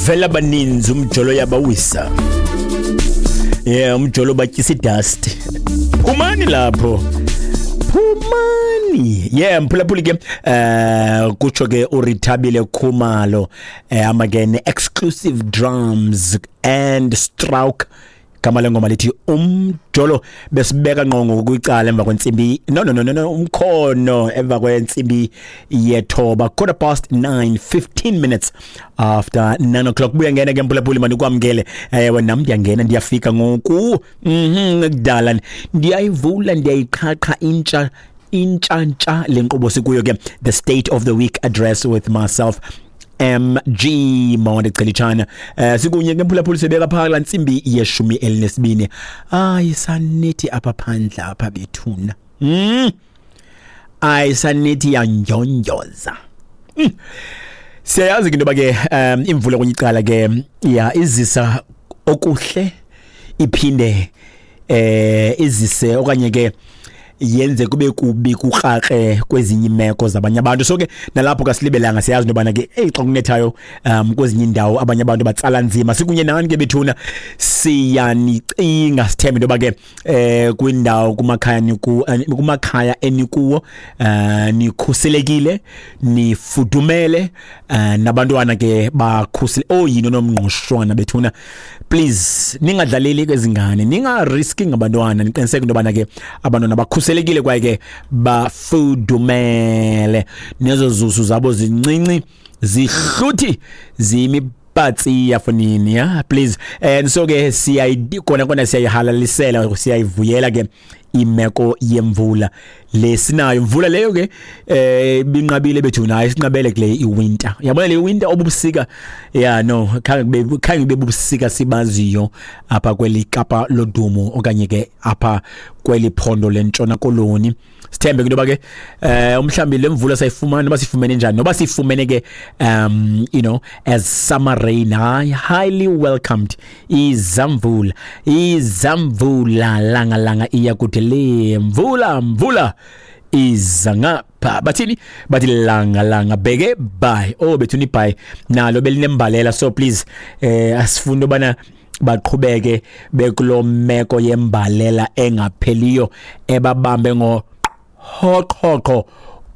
Bavela baninzi, umjolo yabawisa. Yeah, umjolo batyisa idust. Phumani lapho, phumani. Yeah, mphulaphuli ke, kutsho ke uRithabile Khumalo, hamba ke ne-Exclusive Drums and Stroke. Gama lengoma lithi "Umjolo". Besibeka ngqongo kwicala emva kwentsimbi, no, no, no, no, no, umkhono emva kwentsimbi yethoba, 9:15, 15 minutes after 9 o'clock. Buya ngena ke, mphulaphuli, manikwamkele. Ewe, nam ndiyangena, ndiyafika ngoku. Kudala ndiyayivula, ndiyayiqhaqha intsha intshantsha le nkqubo sikuyo ke, the State of the Week Address with myself, MG Monde Celichana. Sikunye ke, mphulaphuli, sibeka phaka la ntsimbi ye-12. Hayi, sanethi apha phandle apha bethuna. Ayisanethi, yandyondyoza. Siyayazi ke into yoba ke imvula kwenye icala ke ya izisa okuhle, iphinde izise okanye ke yenze kube kubi, kukrake kwezinye imeko zabanye abantu. So ke nalapho kasilibelanga, siyazi into yobana ke eyi, xa kunethayo kwezinye indawo abanye abantu batsala nzima. Sikunye nani ke bethuna, siyanicinga. Sithembe into yoba ke kwindawo kumakhaya niku, kumakhaya enikuwo nikhuselekile, nifudumele, nabantwana ke bakhusele. Oh, yini nomngqushwana bethuna, please ningadlaleli kwezingane, ningariski ngabantwana. Niqiniseke into yobana ke abantwana bakhuselekile kwaye ke bafudumele, nezo zusu zabo zincinci zihluthi ziyimipatsi yafonini ya, please. And so ke siyayi kona kona siyayihalalisela, siyayivuyela ke imeko yemvula lesinayo. Imvula leyo ke binqabile bethu, nayo sinqabele kule iwinter. Yabona le winter obubusika, yeah, no, khange kube bubusika sibaziyo apha kweli Kapa lodumo okanye ke apha kweli phondo lentshona Koloni. Sithembe into yoba ke umhlambi le mvula sayifumana, noba sifumene njani, noba sifumene ke as summer rain, hayi, highly welcomed. Izamvula, izamvula, langa langa iya kude le mvula, mvula iza ngapha. Bathini? Bathi langa langa bheke bye. Oh bethuni, bye nalo belinembalela. So please, asifuni ubana baqhubeke bekulo meko yembalela engapheliyo ebabambe ngo hoqhoqho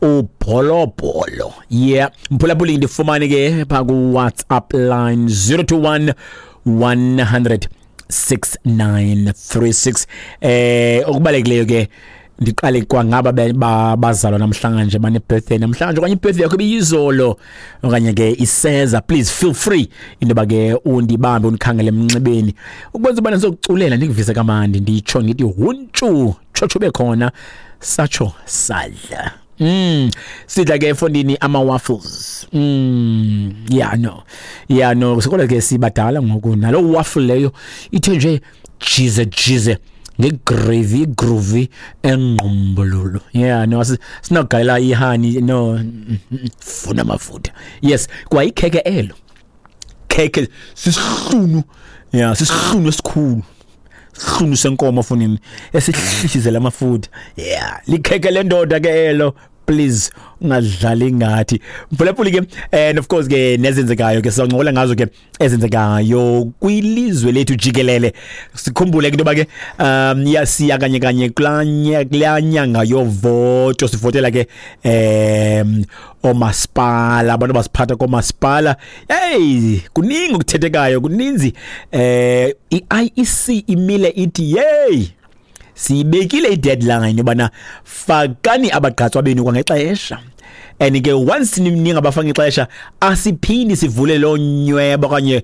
ubholobholo. Yeah, mphulaphuli, ndifumane ke pha ku WhatsApp line 021 100 6936. Okubalulekileyo ke, ndiqale kwangaba bazalwa namhlanje, bane birthday namhlanje, okanye ibirthday yakho ibiyizolo okanye ke iseza, please feel free into yoba ke undibambe, undikhangele emnxebeni ukwenza ubana ndizokuculela, ndikuvise kamandi, nditsho ngithi huntshu tshotsho bekhona, satsho sadla. Sidla ke efondini ama waffles. Yeah, no. Yeah, no, sikole ke sibadala ngoku, nalo waffle leyo ithe nje jize jize ngegravy, groovy engqumbululu. Yeah, no, sinogalela ihoney, no, funa amafutha. Yes, kwa ikheke elo. Kheke sisihlunu. Yeah, sisihlunu esikhulu. Sihlunu senkomo fonini esihlihlizela amafutha. Yeah, likheke lendoda ke elo. Please ungadlali ngathi, mphulaphuli ke. And of course ke nezenzekayo ke sizawuncokola ngazo ke, ezenzekayo kwilizwe lethu jikelele. Sikhumbule ke into yoba ke yasiya kanye kanye kulaa nyanga yovoto, sivotela ke oomasipala, abantu abasiphatha koomasipala. Hey, kuningi okuthethekayo, kuninzi. I-IEC imile ithi yey, siyibekile i-deadline yobana fakani abagqatswa benu kwangexesha, and ke once ningabafaki ixesha, asiphindi sivule loo nyweba okanye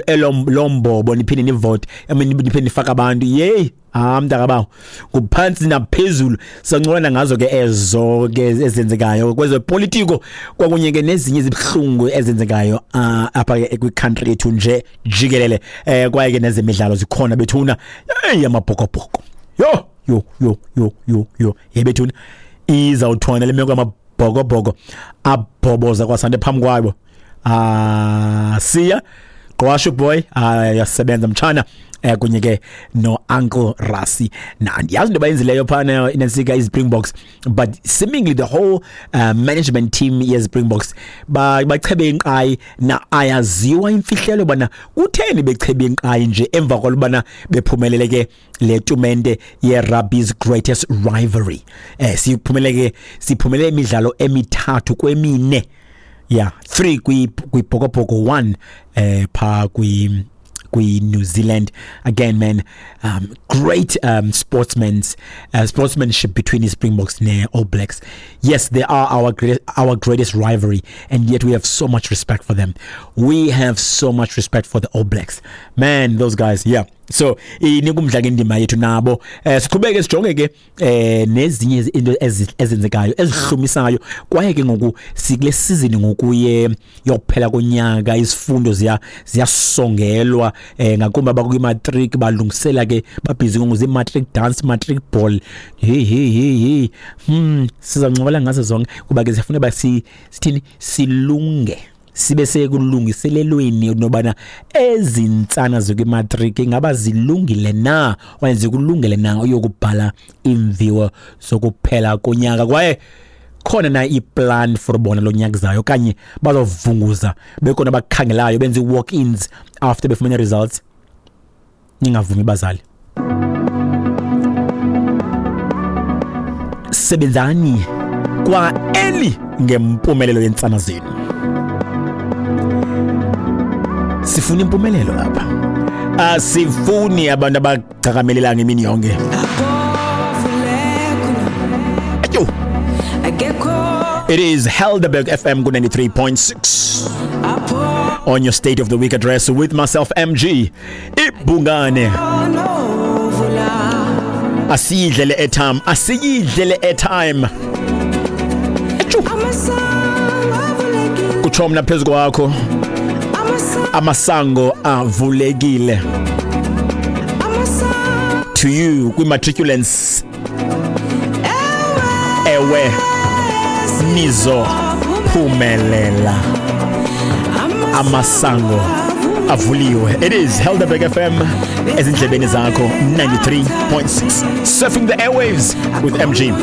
elo loo mbobo niphinde nivote, I mean, niphinde nifake abantu. Yeyi, ha, mntakabawo, nguphantsi naphezulu. Sancokola ngazo ke ezo ke ezenzekayo kwezopolitiko kwakunye ke nezinye izibuhlungu ezenzekayo apha ke kwi-country yethu nje jikelele. Kwaye ke nezemidlalo zikhona bethuna. Hey, amabhokobhoko, yo yo yo yo yo yo, yebethuna, izawuthwana le meko yamabhokobhoko abhoboza kwasante phambi kwabo. Ah, siya Gqwashu boy, yasebenza mtshana, kunye ke no Uncle Rassie. Na andiyazi into bayenzileyo phana inantsika iSpringboks, but seemingly the whole management team yeSpringboks bachebe inqayi, na ayaziwa imfihlelo bana kutheni bechebe inqayi nje emva kwalubana bephumelele ke le tumente ye rugby's greatest rivalry. Siphumelele ke, siphumelele imidlalo emithathu kwemine, yeah, 3 kwi Bhokobhoko, 1 pha kwi New Zealand. Again, man, great sportsmanship between the Springboks and All Blacks. Yes, they are our greatest rivalry, and yet we have so much respect for them. We have so much respect for the All Blacks, man, those guys. Yeah, so inika umdla ke indima yethu nabo. Siqhubeke sijonge ke nezinye into ezenzekayo ezihlumisayo, kwaye ke ngoku sikule season ngokuye yokuphela konyaka, isifundo ziyasongelwa, ngakumbi abakwi-matric balungisela ke, babhizi ngoku zii-matric dance, matric ball. Hey, hey, hey, hey, sizancokola ngazo zonke kuba ke sifuna uba sithini, silunge, sibe sekulungiselelweni nobana ezi ntsana zikwimatriki ingaba zilungile na okanye zikulungele na uyokubhala iimviwo zokuphela konyaka, kwaye khona na iplan for bona lo nyaka zayo, okanye bazovunguza bekhona abakhangelayo benze i-walk-ins after befumene results. Ningavumi bazali, sebenzani kwa eli ngempumelelo yentsana zenu. Sifuna impumelelo lapha, asifuni abantu abagcakamelelanga imini yonke. Ayo. It is Helderberg FM ku 93.6 on your State of the Week address with myself, MG Ibhungane. Asiyidlele airtime, asiyidlele airtime. Atshu. Kutsho mna phezu kwakho, amasango avulekile to you kwi-matriculants. Ewe, nizophumelela, amasango avuliwe. It is Helderberg FM ezindlebeni zakho, 93.6, surfing the airwaves with MG.